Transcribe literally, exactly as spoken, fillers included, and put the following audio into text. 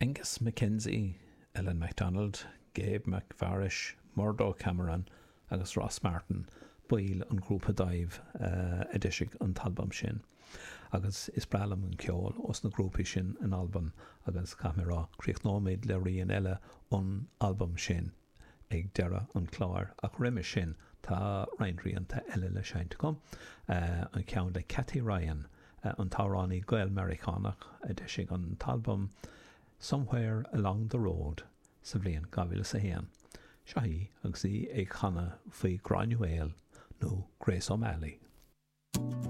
Angus MacKenzie, Ellen MacDonald, Gabe McVarish, Murdo Cameron agus Ross Martin baill an ghrúpa Dáimh a d'eisigh an t-albam sin. Agus is breá liom an ceol ós na grúpaí sin in Albain agus caithfidh mé a rá, críochnóimid le rian eile ón albam sin ag deireadh an chláir. Ach roimhe sin tá roinnt rianta eile le seinnt agam, an ceann le Kathy Ryan, an t-amhránaí Gael-Meiriceánach a d'eisigh an t-albam Somewhere Along the Road sa bhliain dhá mhíle is a haon. Seo í agus í ag canadh faoi Granuaile nó Grace O'Malley.